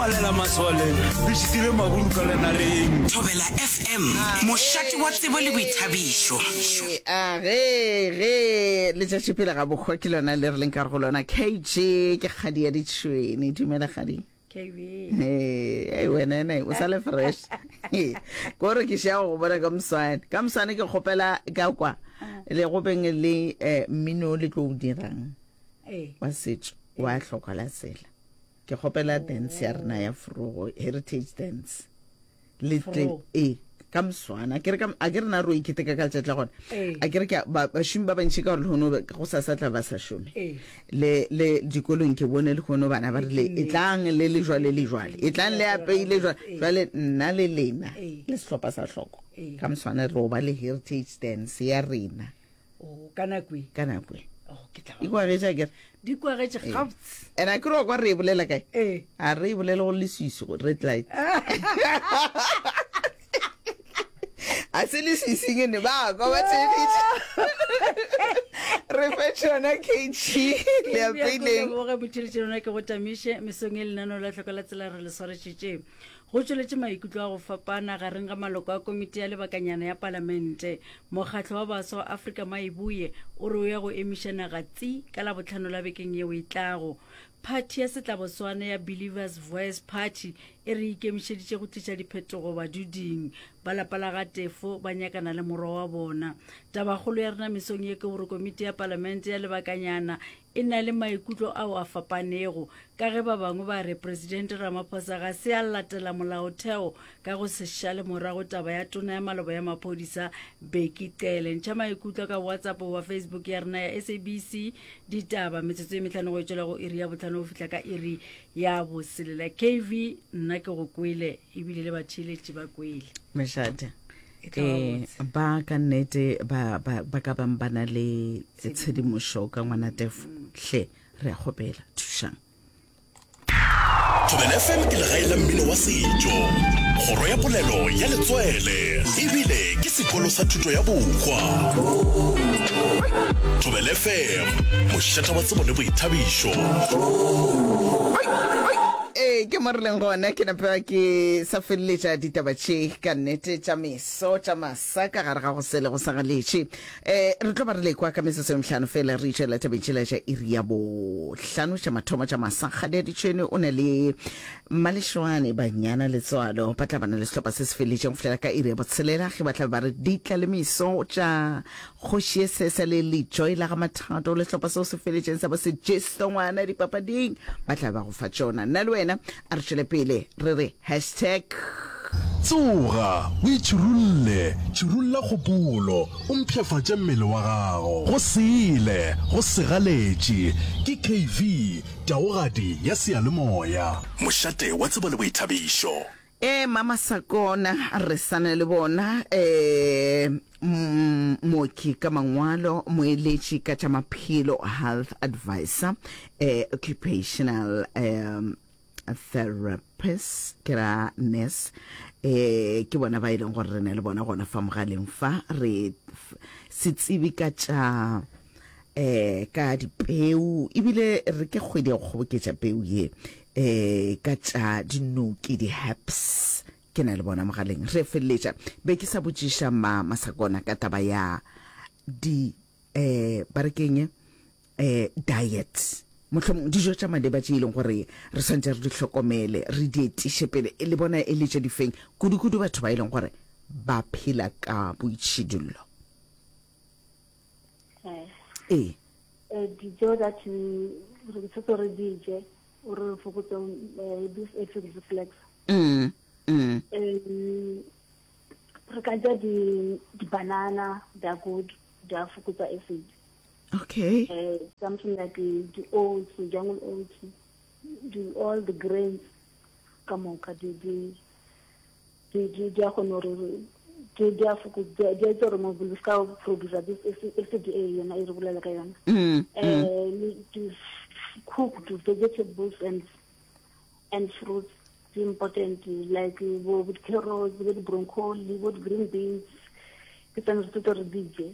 palela masole re šitile maburu ka lenareng. Thobela FM, mošate wa tsebo le boithabišo. A ge, ge letšatši pele ga bohwa ke lona le re leng ka go lona. KG ke kgadi ya ditšhwene. Dumela kgadi. KB. Hey, wena ene o sa le fresh. Ko re ke šea go bona ka moswane. Ka moswane ke kgopela ka kwa le go beng le eh, mmino le tlo o dirang wa setšo wa hlokwa la tsela. Ke kgopela dance ya rena ya frogo heritage dance. Le tle e ka moswana ke re ka a ke re na ro iketeka ka letšatši la gona a ke re ke bašomi ba bantši ka gore lehono go sa sa tla ba sa šome le le dikolong ke bone lehono bana ba rile e tlang le le jwale le jwale e tlang le apeile jwale jwale nna le lena le sehlopha sa hloko ka moswana re ba le heritage dance ya rena Oh, ka nako e. Ka nako e. Oh, ke tla. E kwagetše akere? Di kwagetše gabotse. And a ke re wa kwa re e bolela kae? Ee. A re e bolele go leswiswi go red light. A se leswiswing ene ba kwa ba theeditše. Re fe tšona KG le apeileng. Leboge motheletši lona ke go tamiše mesong e lenaneo la tlhoko la tsela re le swaretšetše. Go tšweletše maikutlo a go fapana gareng ga maloko a komiti ya lebakanyana ya palamente. Mokgatlo wa Baswa wa Afrika Maibuye o re o ya go emiša naga tsi ka Labohlano la bekeng yeo e tlago. Phathi ya setlaboswana ya Believers Voice Party e re e ikemišeditše go tliša diphetogo baduding. Ba lapa la ga Tefo ba nyakana le morwa wa bona. Tabakgolo ya rena mesong ye ke gore komiti ya palamente ya lebakanyana e na le maikutlo ao a fapanego ka ge ba bangwe ba re Presidente Ramaphosa ga se a latela molaotheo ka go se šale morago taba ya tona ya maloba ya maphodisa Bheki Cele. Ntšha maikutlo ka WhatsApp goba Facebook ya rena ya SABC Ditaba metsotso e mehlano go e tšwela go iri ya bohlano go fihla ka iri ya boselela. KV nna ke go kwele ebile le batheeletši ba kwele. Mešate. Eh, ba ka nnete ba, ba, ba ka bang ba na le tshedimošo ka ngwana tefo hle re a kgopela thušang Thobela FM ke legae la mmino wa setšo, kgoro ya polelo ya letswele ebile ke sekolo sa thuto ya bohwa. Thobela FM, mošata wa tsebo le boithabišo. Ee, ke mo re leng gona. Ke nape ke sa feleletša ditaba tše ka nnete tša meso tša masa ka gare ga go sele go sa galetše. Um re tlo ba re lekwa ka metsotso e mehlano fela re itšwela tabeng tšela tša iri ya bohlano tša mathomo tša masa. Kgadi ya Ditšhwene o na le Mmalešwane Banyana Letswalo ba tla ba na le sehlopha se se feleletšeng go fihlela ka iri ya botshelela ge ba tla be ba re ditla le meso tša Kgoši ye sesa le Lejoy la ga Mathato le sehlopha seo se feletšeng sa bo Sejesto ngwana dipapading ba tla ba go fa tšona. Nna le wena a re tšwele pele re re hashtag. Tsoga, o itšhirulle, tšhirulla kgopolo, o mpshafatše mmele wa gago. Go sele, go segaletše, ke KV, taogadi ya seyalemoya. Mošate wa tsebo le boithabišo. Ee, Mama Sakona, re sa na le bona, ee, mooki ka mangwalo, moeletši ka tša maphelo, health advisor, ee, occupational um, therapist, ke ra nurse, ee, ke bona ba e leng gore re na le bona gona fa mogaleng fa, re setsebi ka tša eh ka dipeu ebile re ke kgwedi ya go kgoboketša peu ye eh ka tša dinoki di-herbs ke na le bona mogaleng re feleletša be ke sa botšiša ma masakona ka taba ya di eh ba re keng eh diet mohlomong dijo tša maleba tše e leng gore re swantse re di hlokomele re di etiše pele e le bona e le tše difeng kudu-kudu batho ba e leng gore ba phela ka boitšhidullo Ee. Eh, dijo that re tshwetse re di je o re fokotse eh, this acid reflux mm, mm. re ka ja di-banana they are good di a fokotsa acid okay uh, something like the oats jungle oats the, all the grains ka moka di di di di di a kgona gore di di a fokotsa di a etsa gore mobele o ska producer this acid e yona e re bolela ka yona mm, mm. eh di cooked vegetables and and fruits di important like bo bo carrots bo di-broccoli bo di-green beans ke tsone re tsetse re di je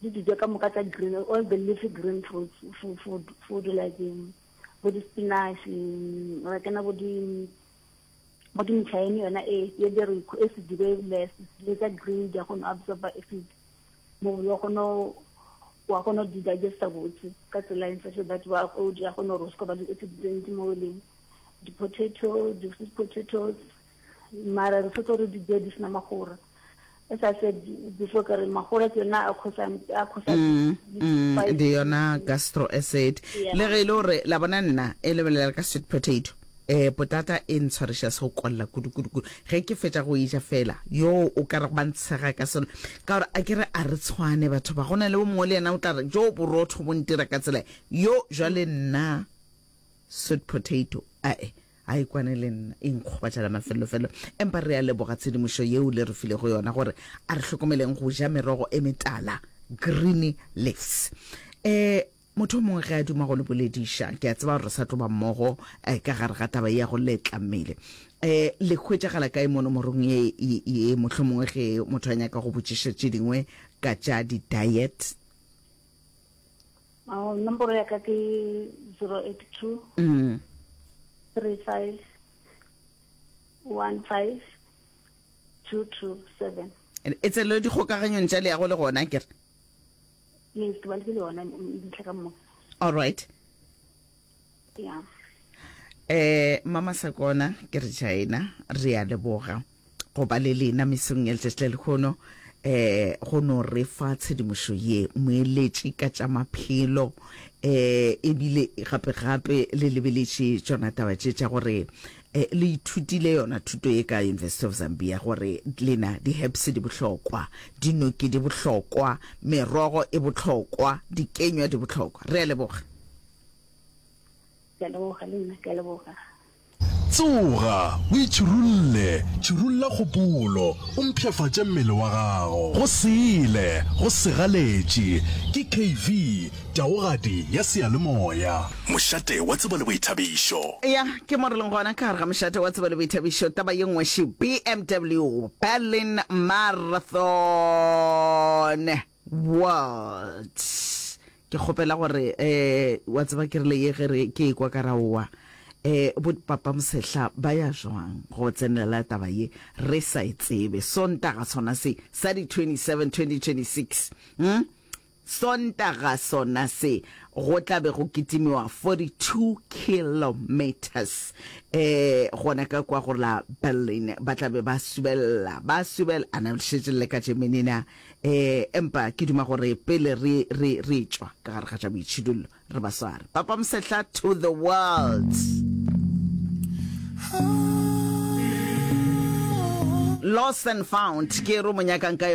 di dijo ka moka tsa green all the leafy green fruits food, food like um, bo di-spinach ra kena bo di. Mo di metšhaene yona e ye di re acid di be less le tsa green di a kgona go absorba acid mobele wa kgona wa kgona go di digesta botse ka tsela in such a that wa o di a kgona gore o se ka ba le acid tse ntsi mo beleng di-potato di-sweet potatoes mara re tshwetse gore di je di sena magora as I said before ka re magora ke yona a cause-ang a cause-a Mm, mm, di yona gastro acid le ge e le gore la bona nna e lebelela ka sweet potato eh potata e ntshwariša se go kolla kudu kudu kudu ge ke fetša go eja fela yo o ka re ba ntshega ka selo ka gore a ke re a re tshwane batho ba go na le o mongwe le yena o tla re jo borotho bo ntira ka tsela yo jwale nna sweet potato ae A e kwane le nna, e nkgobatša la mafelelofelo. Empa re a leboga tshedimošo yeo le re filego yona gore a re hlokomeleng go ja merogo e metala, green leaves. E, motho o mongwe ge a duma go le bolediša, ke a tseba gore re sa tlo ba mmogo eh, ka gare ga taba ye ya go letla mmele. E, le hwetšagala kae mo nomorong ye, ye, ye mohlomongwe ge motho a nyaka go botšiša tše dingwe ka tša di-diet? Oh, nomoro ya ka ke 082 mm. 35 15 227. E tselo dikgokaganyong tša leago le gona ke re? Yes, ke ba le yona dintlha ka moka. All right. Yeah. Eh mama Sakona ke re China re a leboga. go ba le lena mesong ya letšatši la lehono eh go no re fa tshedimošo ye moeletši ka tša maphelo eh ebile gape gape le lebeletše tšona taba tše tša gore eh, le ithutile yona thuto ye ka University of Zambia gore lena di-herbs di bohlokwa dinoki di bohlokwa merogo e bohlokwa dikenywa di bohlokwa re a leboga Ke a leboga le nna ke a leboga. Tsoga, o itšhirulle, tšhirulla kgopolo, o mpshafatše mmele wa gago. Go sele, go segaletše, ke KV, taogadi ya seyalemoya. Mošate wa tsebo le boithabišo. Ya, ke mo re leng gona ka gare ga mošate wa tsebo le boithabišo. Taba ye nngwe še, BMW Berlin Marathon World. Ke kgopela gore eh wa tseba ke rile ye ge re ke ekwa ka raowa eh bo papa Mosehla ba ya jwang go tsenelela taba ye re sa e tsebe Sontaga sona se sa di 27 2026 hm Sontaga sona se go tla be go kitimiwa 42 kilometers eh gona ka kwa go la Berlin ba tla be ba subella ba subella ana le šetše le ka Germany na E, empa ke duma gore pele re, re, re tšwa ka gare ga tša boitšhidullo, re ba sware. Papa Mosehla to the world. Lost and found, ke e re o mo nyakang ka.